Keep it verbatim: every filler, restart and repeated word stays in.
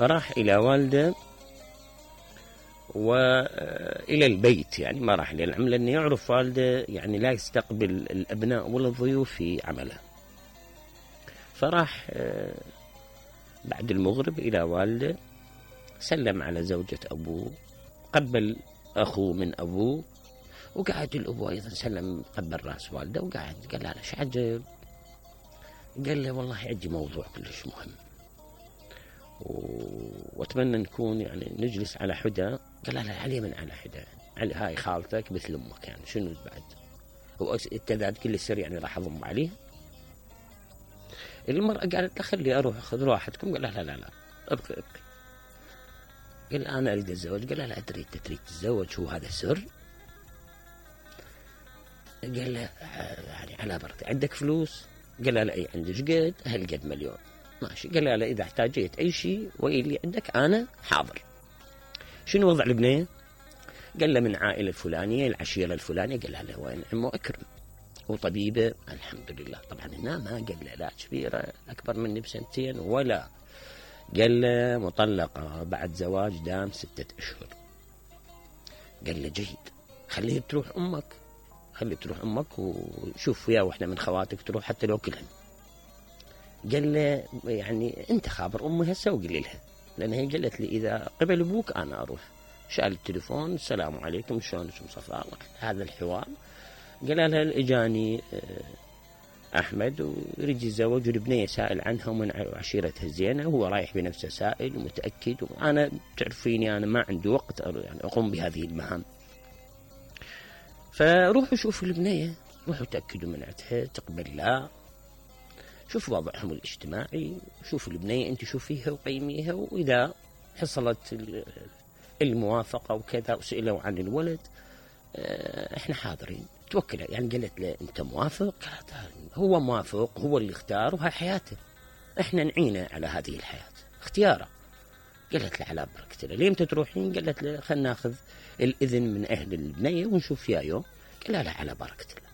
راح إلى والده وإلى البيت، يعني ما راح إلى العمل، لأنه يعرف والده يعني لا يستقبل الأبناء ولا الضيوف في عمله. فراح بعد المغرب إلى والده، سلم على زوجة أبوه، قبل أخوه من أبوه، وقعد الأبو أيضا سلم قبل رأس والده وقعد. قال له شو عجب؟ قال له والله عندي موضوع كلش مهم واتمنى نكون يعني نجلس على حدة. قال له علي من على حدة؟ علي هاي خالتك مثل امك، يعني شنو بعد؟ هو كذا كل السر يعني راح اضم عليه. المرأة قالت له خلي اروح خذ راحتكم. قال لا لا لا ابقي ابقي. قال انا اريد اتزوج. قال لا ادري انت تريد تتزوج، شو هذا سر؟ قال له يعني على بركة، عندك فلوس؟ قال له لا اي عندي. قد هالقد مليون. ماشي. قال له لا اذا احتاجيت اي شيء واللي عندك انا حاضر. شنو وضع البنيه؟ قال له من عائله الفلانيه، العشيره الفلانيه. قال له وين عمو اكرم؟ وطبيبه الحمد لله. طبعا هنا ما قال له لا كبيره اكبر مني بسنتين ولا. قال له مطلقه بعد زواج دام ستة اشهر. قال له جيد، خليه تروح امك، خلي تروح امك وشوف ويا واحده من خواتك تروح حتى لو كلهن. قال له يعني انت خابر امي هسه وقل لها، لان هي قالت لي اذا قبل ابوك انا اروح. شال التليفون، السلام عليكم شلونك صفاء، هذا الحوار. قال لها اجاني احمد ويريد يتزوج والبنيه سائل عنها ومن عشيرتها الزينه، وهو رايح بنفسه سائل ومتاكد، وانا تعرفيني انا ما عندي وقت يعني اقوم بهذه المهام. فروحوا شوفوا البنيه، روحوا تاكدوا من عندها تقبل لا، شوف وضعهم الاجتماعي، شوف البنية انت شوفيها وقيميها، واذا حصلت الموافقة وكذا وسئلوا عن الولد احنا حاضرين. توكل يعني. قالت له انت موافق؟ قالت هو موافق، هو اللي اختار وهي حياته، احنا نعينه على هذه الحياة اختياره. قالت له على بركة الله. ليه تروحين؟ قالت له خلنا ناخذ الاذن من اهل البنية ونشوف فيها يوم. قال لا على بركة الله.